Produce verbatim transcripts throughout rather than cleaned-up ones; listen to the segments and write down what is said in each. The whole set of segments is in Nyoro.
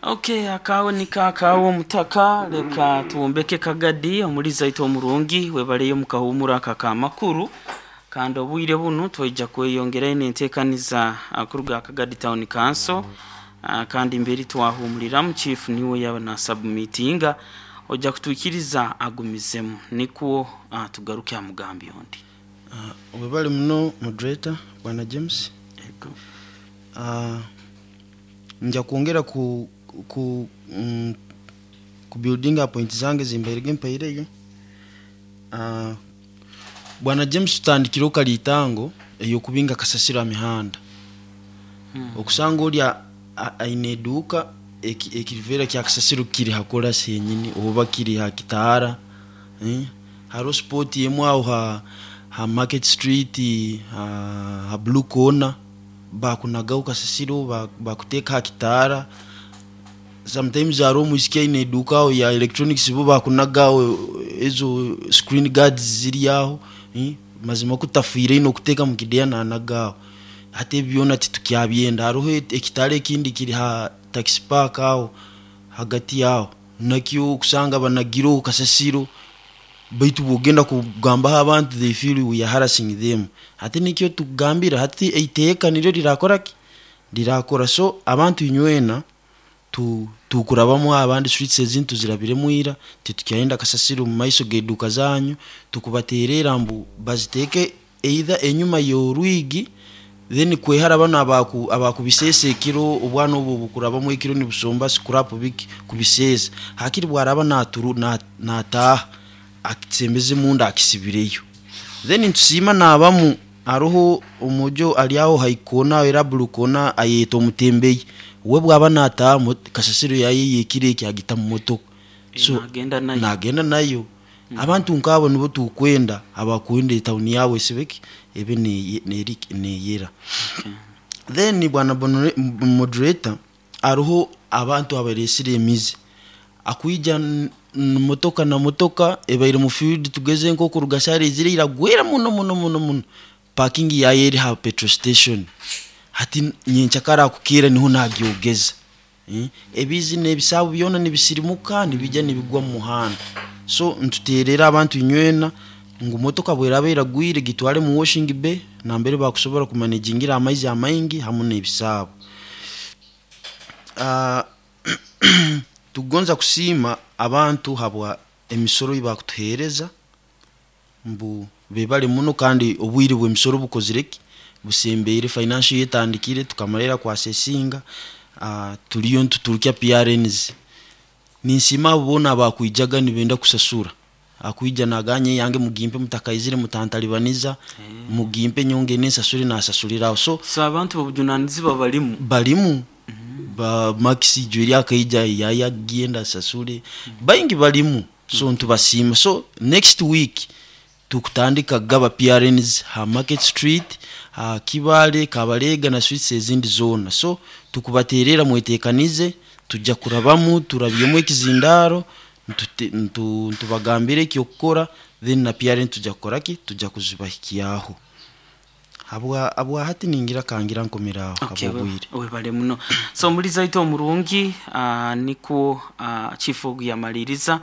Okay, akawe nikakawe omutaka, leka tuwombeke kagadi omuliza itu omurungi webaleyo mukahumura kakamakuru, kandi obwire bunu twaija kweyongera nentekaniza kuruga Kagadi Town Council. uh, kandi mberi twahumuliramu chief niwe yaba na submitinga ojja kutuikiriza agumizemu nikwo uh, tugaruke amugambi ondi. Uh, webale muno moderator bwana James. Ego. Uh, nja kwongera ku ku mm, ku building up point zange zimbairege mpaireyo. Uh, bwana James, tutandikire kalitango eyokubinga kasasiro amihanda. Hmm. Okusanga olya aine eduka ekivera kya kasasiro kiri hakola senyini oba kiri ha kitara, eh? Haro spot yemu aho ha, ha Market Street, ha, ha Blue Corner bakunagaho kasasiro, bakuteka ha kitara. Sometimes haro omwisiki aine eduka aho ya electronics bo bakunagaho ezo screen guards ziri aho, eh? Mazima kutafiire ino kuteka mu kideya nanagaho hati byona titukyabyenda. Hariho ekitare ekindi kiri ha taxi park aho hagati yaho nakyo kusanga banagiro kasasiro, baitu bwogenda kugambaho abantu they feel we are harassing them. Hati nikyo tugambira hati eiteeka niryo lirakora ki lirakora. So abantu inywena tu tukurabamu abandi streets ezindi tuzirabiremu ira, titukyayenda kasasiro mu maiso g'eduka zanyu. Tukubaterera mbu baziteeke either enyuma y'orwigi, then kwehara bano abaku abakubisesa ekiro obwana obu bukurabamu ekiro nibusomba scrap biki kubisesa, hakiri bwaraba naturu nataha akitsembeze munda akisibireyo. Then ntusima nabamu aroho omujo ali aho haikona era blue kona ayeta omutembeyi we bwaba nataha kasasiro yaye yekire kyagita mu motoka, so nagenda nayo nagenda nayo. Mm. Abantu nkabo nibo tukwenda abakwenda town yawe sibeki ebe ne neyera. Okay. Then bwana moderator aroho abantu abaresire emizi akuija motoka na motoka ebaire mu field tugeze nko kurugasare zire iragwera muno muno muno muno parking yaye eri ha petrol station, hati nyenchakara kukira niho nagyogeza, eh? Ebizi nebisabu byona nibisirimuka nibijya nibigwa mu muhanda. So ntuterera abantu inywena ngu motoka bweraba iragwire gitwale mu washing bay nambere bakusobora kumanagingira amaizi amaingi hamu n'ebisaabo. Uh, tugonza kusiima abantu habwa emisoro ibakutuhereza mbu bebale muno, kandi obwire bw'emisoro bukozireki busembeire financial yetandikire tukamalira kwasesinga. Uh, tuliyo ntuturukya P R Ns ninsima abo bona abakwijaga nibenda kusasura akuija naganye yange mugimpe mutakaizire mutantalibaniza, hey. Mugimpe nyonge nensasure nasasuliraho. So so abantu bobujunanizibwa balimu balimu mm -hmm. Ba maxi jweri akaija yaya genda sasule mm -hmm. Baingi balimu. So ntubasima. So next week tukutandika gaba P R Ns ha Market Street, ha Kibale, Kabalega na streets ezindi zona. So tukubaterera mwetekanize tujja kurabamu turabyemu ekizindaro ntubagambire ekyokukora, then na P R N tujja kukora ki tujja kuzibahikiyaho. Abwa abwa hati ningira kangira nkomeraho. Okay, abobwire webale muno. So muliza ito omurungi uh, niko uh, chief ogu yamaliriza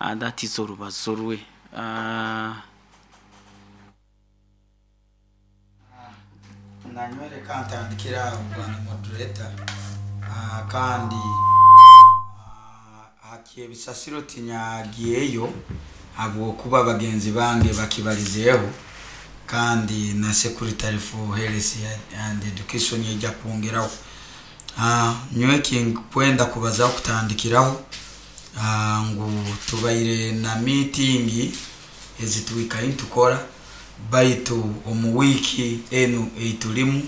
uh, that is orubazo rwe. uh, Nanywere kantandikira bwana moderator. Uh, kandi uh, hakebisasiro tinyagiyeyo habwokuba bagenzi bange bakibalizeeho, kandi na secretary for health and education yajja kwongeraho. Uh, nyowe kinkwenda kubazaho kutandikiraho uh, ngu tubaire na meeting ezitwikayo ntukora baitu omu wiki enu eitulimu.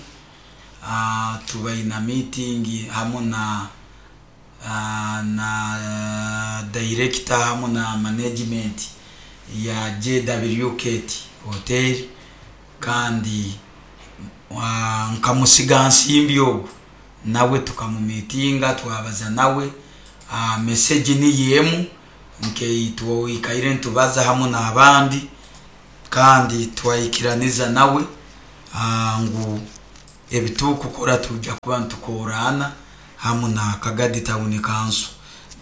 Uh, tubaire na meeting hamu na uh, na director hamu na management ya J W K T Hotel, kandi uh, nkamusiga nsimbi ogu nawe tukamumitinga twabaza nawe. Uh, message ni yemu nkeitwoikaire ntubaza hamu n'abandi, kandi twayikiraniza nawe uh, ngu ebitukukora tujja kuba ntukorana. hamu na Kagadi Town Council.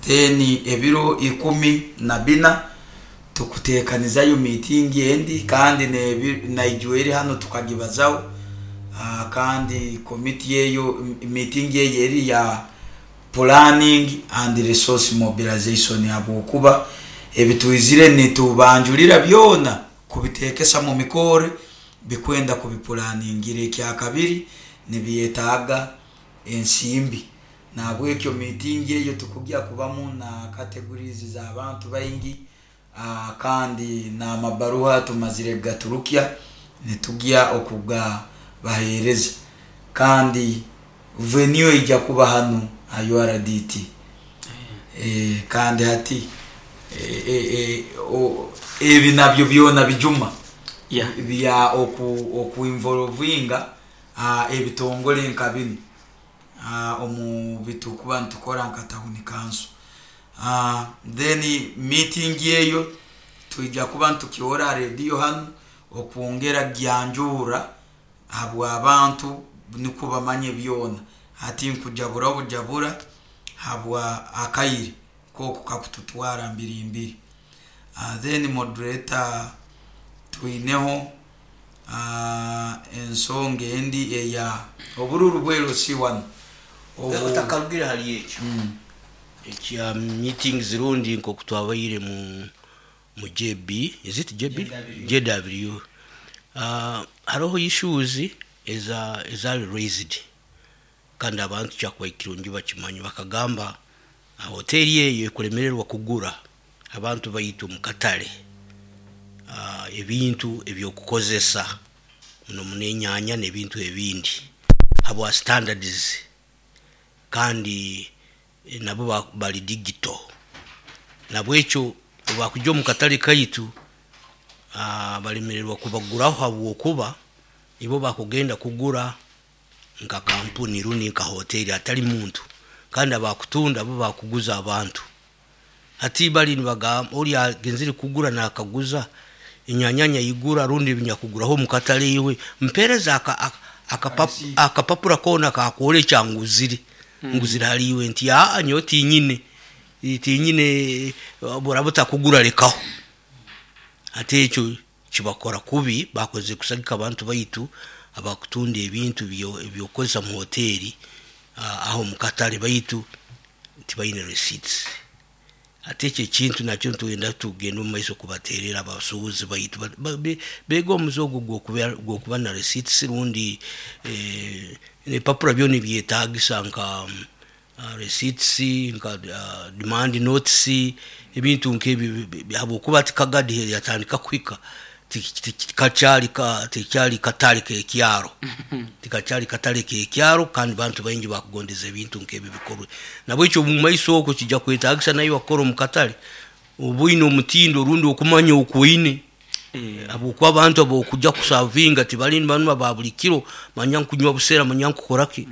Then ebiro ikumi na bina tukutekanizayo meeting endi, kandi naijweri hano tukagibazaho. uh, kandi committee eyo meeting eyo eri ya planning and resource mobilization, habwokuba ebitwizire nitubanjulira byona kubitekesa mu mikore bikwenda kubipulaningira. Ekyakabiri nibyetaaga ensimbi, nabwekyo meeting eyo tukugya kubamu na categories z'abantu baingi, uh, kandi n'amabaruha tumazire gaturukya nitugya okuga bahereza, kandi venue ijja kuba hano ha U R D T. E, kandi hati e, e, o, ebi nabyo byona bijuma yeah. bya oku okuinvolvinga uh, ebitongole nka bino uh, omu bitukuba ntukora nka town council. Uh, then meeting eyo tuija kuba ntukiora radio hano okwongera gyanjura habwa abantu niko bamanye byona, hati nkujabura obujabura habwa akaire koko kakututwara mbiri mbiri. Uh, then moderator twineho uh, ensonga endi eya obururu bwero si wano otakalugire hali ekyo mm. ekya meeting zirundi nko kutwabaire mu mu J B, is it J B? J W. Uh, hariho issues eza ezali raised kandi abantu kyakuba kirungi bakimanyi bakagamba hoteli eyo ekulemererwa kugura abantu bayitu mu katale uh, ebintu ebyokukozesa muno munenyanya n'ebintu ebindi habwa standards, kandi nabo bali digital, nabwekyo bakujja mu katale kaitu uh, balemererwa kubaguraho habwokuba ibo bakugenda kugura nka kampuni runi nka hoteli atali muntu, kandi abakutunda bo bakuguza abantu. Hati bali nibagamba oli agenzire kugura nakaguza inyanyanya igura rundi binyakuguraho mukatale iwe mpereza akapapura kona kakole kyanguzire mm. nguzira haliwe nti a nyo tinyine tinyine burabuta kugura lekaho. Ate ekyo kibakora kubi bakoze kusagika abantu baitu abakutunda ebintu ebyokozesa mu hoteli aho mukatale baitu tibaine receipts. Ate ekyo ekintu nakyo ntugenda tugenda omu maiso kubaterera abasuubuzi baitu bega omuze ogwo gwokuba na receipts rundi eh, ebipapura byona ebyetagisa nka uh, receipts nka uh, demand notice ebintu nk'ebyo habwokuba ati Kagadi yatandika kuhika tikakyali ka tikyali katale kekyaro tikakyali katale kekyaro, kandi bantu baingi bakugondeza ebintu nk'ebyo bikorwe. Nabwekyo mu maiso okwo kijja kwetagisa nayo wakora omu katale obwine omutindo rundi okumanya okwine habwokuba abantu abokujja kusavinga tibali bantu ba buli kiro manya nkunywa busera manya nkukoraki.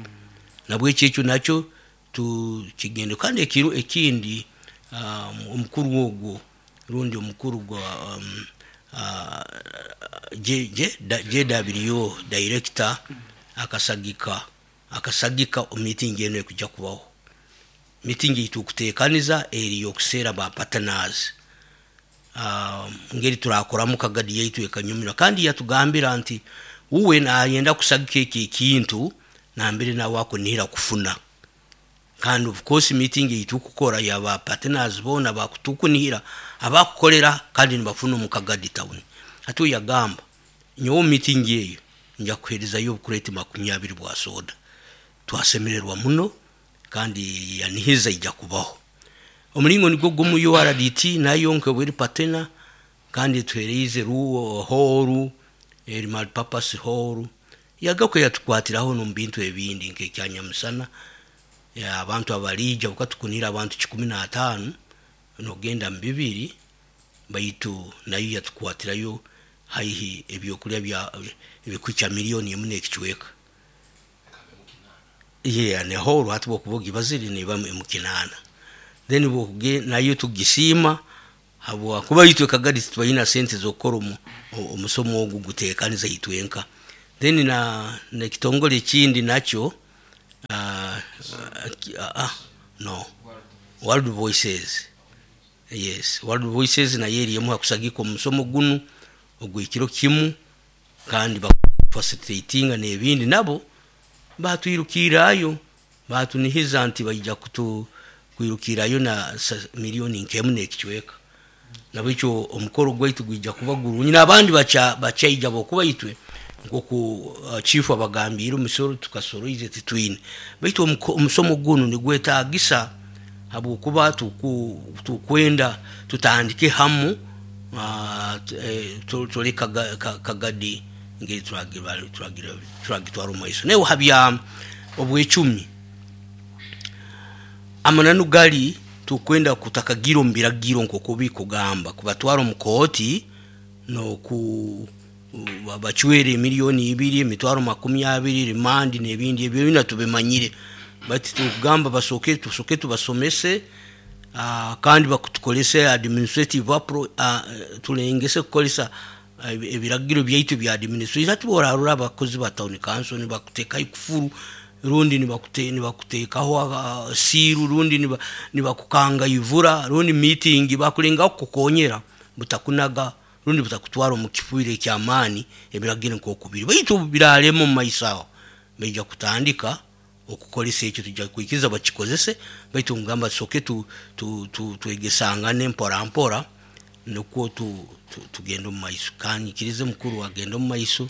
Nabwekyo ekyo nakyo tukigende. Kandi ekiro ekindi um, omukuru ogwo rundi omukuru gwa um, Uh, J, J, J W director akasagika akasagika meeting eno ekujja kubaho. Meeting itukutekaniza eri yokusera ba partners uh, ngeri turakoramu Kagadi yaitu ekanyumira, kandi yatugambira nti uwe nayenda kusagika eki ekintu nambere nawe akunihira kufuna. Kandi of course meeting itukukora yaba partners bona bakutukunihira abakukolera kandi nibafuna mu Kagadi town. Atu yagamba nyowe meeting eyo nja kuherezayo obukureti makumi abiri bwa soda. Twasemererwa muno kandi yanihiza ijja kubaho. Omulingo nigwo gumu U R D T nayo nkebweri partner, kandi tuhereize ruwo horu eri multipurpose hall yagako yatukwatiraho no bintu ebindi nk'ekyanyamusana ya abantu abalija bukatukunira abantu kikumi na atano nogenda mbibiri baitu nayo yatukwatirayo haihi ebyokulya bya ebikwicha milioni emu n'ekichweka. Yeah, ne hall hatu bokubogi baziri ne bamwe mukinana. Then bokuge nayo tugisima habwa kuba yitwe Kagadi tubayina sente zokora omusomo ogu gutekaniza yitwenka. Then na na kitongole kindi nakyo uh, uh, no, World Voices. Yes, World Voices nayo eri emu hakusagika omusomo gunu ogw'ekiro kimu, kandi bafacilitatinga n'ebindi. Nabo batwirukirayo, batunihiza nti baija kutu kwirukirayo na miliyoni nkemu n'ekicweka. Nabwekyo omukoro gwaitu gwija kuba gurungi, n'abandi bacha bachaija bokuba itwe nkoku uh, chief abagambire omusoro tukasoroize titwine. Baitu omusomo gunu nigwetagisa habwokuba tukwenda tutandike hamu, uh, tole Kagadi ngeri turagitwara omu maiso. Naye habya obwecumi, amananu gali tukwenda kutakagira omu biragiro nk'oku bikugamba kubatwara omu kooti n'oku bacwere miliyoni ibiri, emitwaro makumi abiri, rimandi n'ebindi ebyo byona tubimanyire. Bati tukugamba basooke tusooke tubasomese, uh, kandi bakutukolese administrative apro, uh, tulengese kukolesa ebiragiro byaitu bya administration. Ati borarura abakozi ba town council nibakuteekaho ekufuru, rundi nibakute nibakuteekaho uh, siiru, rundi nibakukanga ivura, rundi meeting bakulengaho kukukonyera butakunaga, rundi butakutwara omu kifuire ekyamaani. Ebiragiro nk'okubiri baitu biralema omu maiso aho baija kutandika okukolesa ekyo, tujja kwikiriza bakikozese. Baitu ngamba tusooke tu, tu, tu, twegesangane mpora mpora nukwo tu, tu, tugende omu maiso. Kanyikirize mukuru agende omu maiso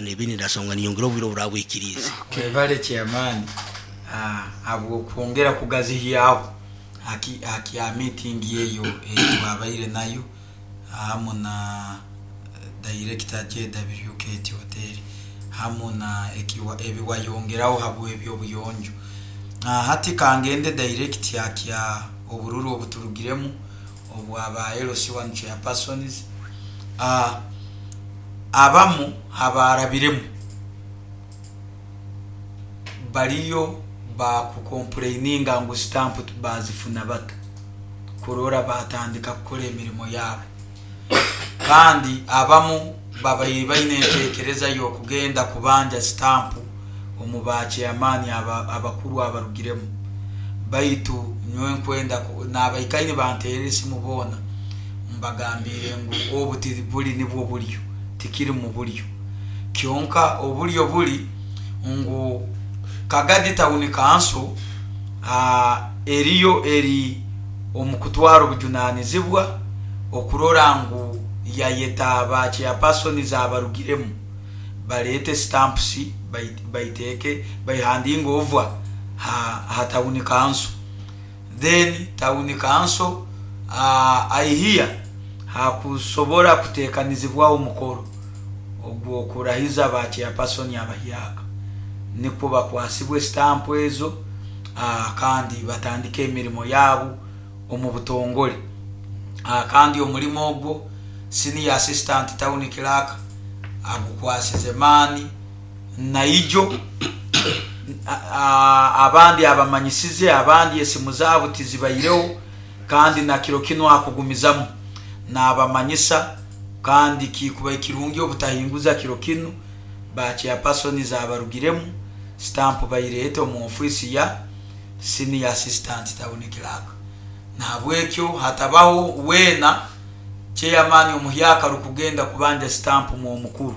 n'ebindi ndasonga niyongera obwire oburabwikirize. Webale chairman habw'okwongera kugazihyaho hakya meeting eyo eyitwabaire nayo hamu na director J W K T Hotel hamu na ebiwayongeraho habw'ebyobuyonjo. Hati kangende direct hakya obururu obuturugiremu obwaba L C one chairpersons. Abamu abarabiremu bariyo bakukomplaininga ngu stamp bazifuna bata kurora batandika kukora emirimo yabo, kandi abamu babaire baine entekereza y'okugenda kubanja stamp omu ba chairman abakuru abarugiremu. Baitu nyowe nkwenda n'abaikaini banteerera esimu boona mbagambire ngu obu buli nibwo buryo, tikiri mu buryo. Kyonka oburyo buli ngu Kagadi Town Council eriyo eri omu kutwara obujunanizibwa okurora ngu yayeta ba chairpersons abarugiremu barete stamps baiteke baihandinga over ha, ha town council. Then town council uh, aihia hakusobora kutekanizibwa omukoro ogwo kurahiza ba chairperson abahyaka, nikwo bakwasibwe stamp ezo, uh, kandi batandike emirimo yabo omu butongole. Uh, kandi omulimo ogwo senior assistant town clerk agukwasize mani naijo abandi abamanyisize, abandi esimu zaabo tizibaireho, kandi na kiro kino akugumizamu n'abamanyisa, kandi kikuba ekirungi obutahinguza kiro kino ba chairpersons abarugiremu stamp bairete omu ofisi ya senior assistant town clerk. Nahabwekyo hatabaho weena chairman omuhyaka rukugenda kubanja stamp mu omukuru.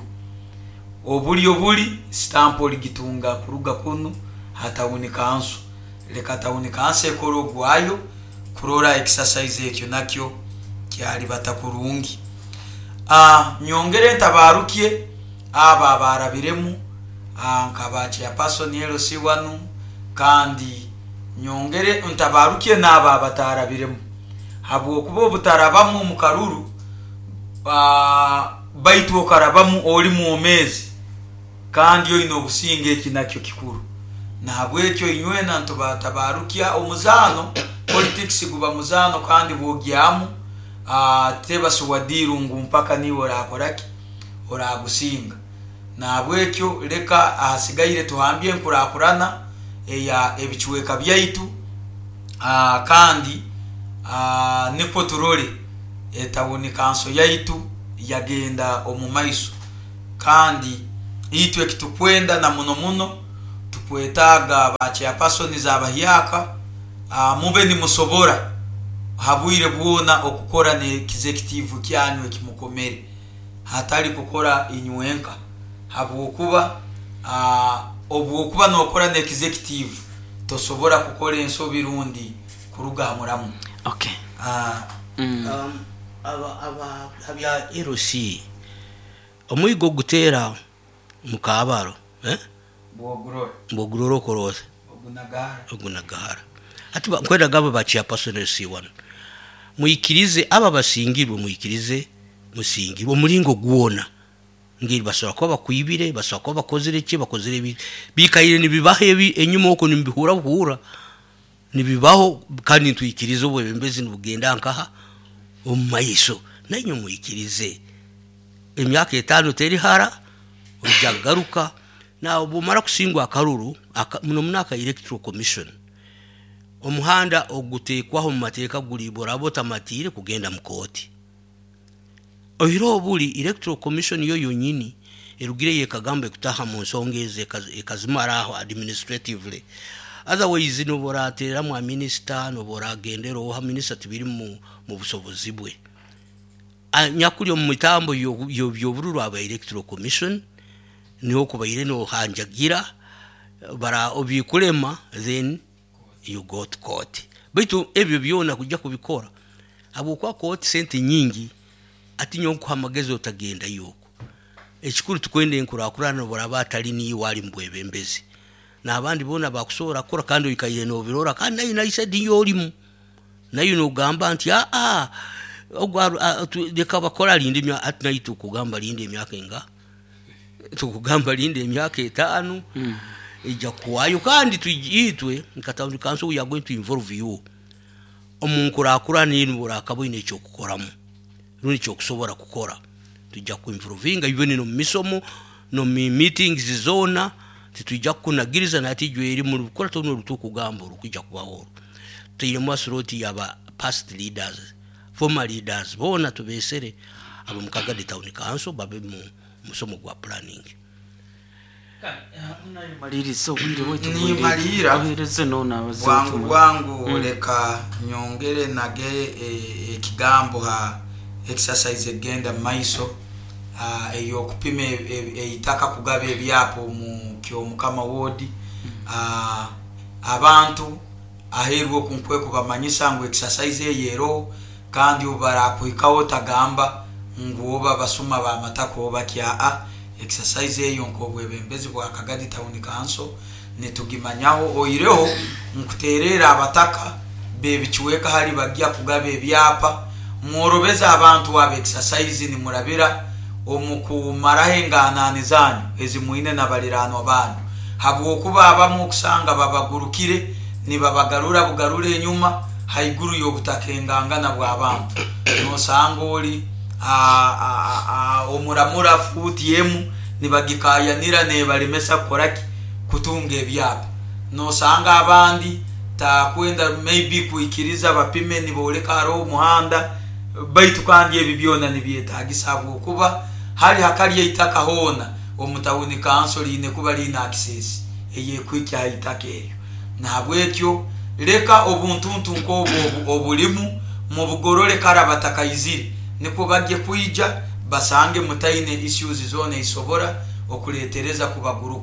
Obulyo buli stamp oligitunga kuruga kunu ha town council. Leka town council ekora ogwayo kurora exercise ekyo nakyo kyali batakurungi. Ah, nyongere ntabarukie aba abarabiremu nkaba chairperson L C one, kandi nyongere ntabarukie n'aba abatarabiremu habwokuba obutarabamu omu karuru baitu okarabamu oli mwomezi kandi oine obusinge, eki nakyo kikuru. Nahabwekyo inywena ntubatabarukia omuzano, politics guba muzano kandi bwogyamu tebasuwadiru ngu mpaka niwe orakoraki oragusinga. Nahabwekyo leka ahasigaire tuhambye enkurakurana eya ebichweka byaitu, kandi nikwo turole etawuni kanso yaitu yagenda omu maiso. Kandi itwe ekitukwenda na muno muno Tukwetaaga ba chairpersons abahyaka, ah, mube nimusobora habwire bwona okukora ne executive kyanyu ekimukomere, hatali kukora inywenka, habwokuba ah, obwokuba nokora ne executive tosobora kukora ensobi rundi kuruga ha muramu. Okay. Ah, Mm. Um, aba aba abya L C, omwigo gutera mukabaro, eh bwogurora mbogurora okoroza ogunagara. Ogunagahara. Ati ba- nkwenda gaba ba chairperson L C one, muikirize aba basingirwe, muikirize musingirwe omulingo gwona ngeri basobola kuba bakwibire, basobola kuba bakozere ki, bakozere ebi bikaire nibibaho ebi enyuma okwo, nibihura buhura nibibaho. Kandi nitwikiriza obwebembezi nibugenda nkaha omu maiso. Nainywe mwikirize emyaka etaano teri hara, ojja kugaruka. Na bwomara kusingwa akaruru aka, muno munaka electoral commission, omuhanda ogutekwaho mu mateeka guli boraba otamatiire kugenda mu kooti. Oire obuli electoral commission yo yonyini erugire yekagamba ekutaha mu nsonga ezo ekaz- ekazimara aho administratively. Otherwise noboratereramu minisita, noboragendera oha minisita, tibiri mu, mu busobozi bwe. A- nyakuli omu mitambo yo- yo- by'obururu aba electoral commission niho kubaire nohanjagira bara obikulema, then you go to court. Baitu ebyo byona kujja kubikora habwokuba kooti sente nyingi. Ati nyowe nkuha amagezi otagenda yoko. Ekikuru tukwenda enkurakurana, boraba atali niiwe ali mubwebembezi n'abandi boona bakusobola kukora, kandi oikaire nobirora, kandi nayo naisadi yolimu nayo nogamba nti aa ogwa- a- tu- leka bakora, linda emya- ati nayo tukugamba linda emyaka enga, tukugamba linda emyaka etaano ejja kuwayo. Kandi tuij- itwe nka town council we are going to involve you omu nkurakurana enu. Borakaba oine ekyokukoramu rundi kyokusobora kukora, tujja kuinvolvinga even no mumisomo no mu meetings zona. Titwijja kukunagiriza nati ijwe eri mu kukora tono olutukugamba olukujja kubaho olwo. Tuteiremu asuroti yaba past leaders, former leaders boona tubesere abo mu Kagadi Town Council babe mu musomo gwa planning. Maliriza, obwire bwaitu. Nimalira. Ohereze nona abaze. Bwangu bwangu, leka nyongere nage e, ekigambo ha exercise egenda mumaiso, ah, ey'okupima e- e- eitaka kugaba ebyapa mu Kyomukama ward. Ah, abantu aheerwa oku nkwe kubamanyisa ngu exercise eyo eroho, kandi obu barakuhikaho tagamba ngu oba basuma bamataka oba kya. Exercise eyo nk'obwebembezi bwa Kagadi Town Council nitugimanyaho. Oireho nkuterera abataka bebikiweka hali bajja kugaba ebyapa, mworobeza abantu aba exercise nimurabira omukumaraho enganani zanyu ezimwine nabaliranwa banyu, habwokuba abamu okusanga babagurukire nibabagarura bugarura enyuma haiguru y'obutaka engangana bw'abantu. Nosanga oli a- a- a- omuramura fuuti emu nibagikayanira nebalemesa kukoraki, kutunga ebyapa. Nosanga abandi takwenda maybe kwikiriza bapime, niboleka hariho omuhanda. Baitu kandi ebi byona nibyetagisa, habwokuba hali hakali eitaka hoona omu town council liine kuba liine access eyekuhikya ha itaka eryo. Nahabwekyo leka obuntuntu nk'obwo obu- obulimu mubugorore kara batakaizire, nikwo bajye kwija basange mutaine issues zona isobora okuletereza kubaguruka.